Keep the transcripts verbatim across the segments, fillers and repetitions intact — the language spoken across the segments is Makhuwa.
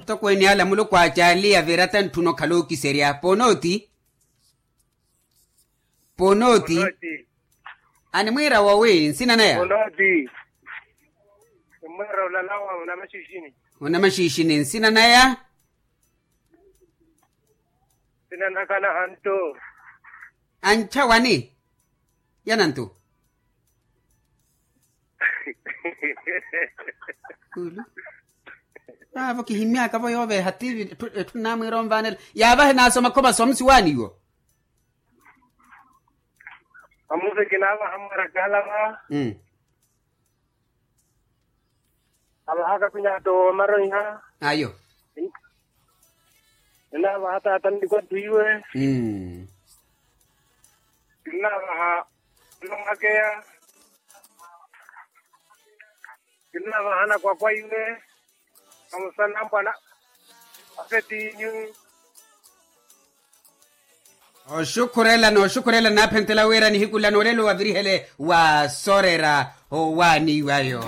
Atokweene ala muluku aacaaliya vira tantthuna okhala ookiserya ponooti. Ponooti. Animwiira wowi nsina naya? Ponooti. Nimwiira olalawa onamaxiixini. Onamaxiixini nsina naya? Nsina naka nahantu. Ancha wani? Yanantu. Kulu. Vaavo kihimmyaka-vo yooveeha tivi etthu namwiira onvaanela. Yaavahe naasoma khomaso amusi waaniiwo. Amusi kinaavaha mwarakala va. Avahaka khwinyato wamaroiha. Ayo. Kinaavaha taata nnikwatthu iwe. Kinaavaha namakeya. Kinaavaha nakwakwa iwe. Amusana mbwana. Apetinyu. Oxukhurela nooxukhurela naaphentela wira nihiku lano olelo wavirihele wa soorera owaaniwayo.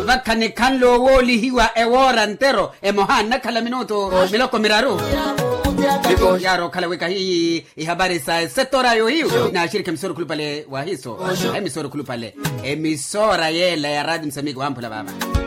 Vakha nikhanle owoolihiwa ewoora ntero emoha nnakhala minutu miloko miraru. Yaari okhala wika hiyi ihabari sa esetora yohiyu naaxirikha emisoro khulupale wahiso. Emisoro khulupale emisora yeela ya raati musamiiki wamphula vaava.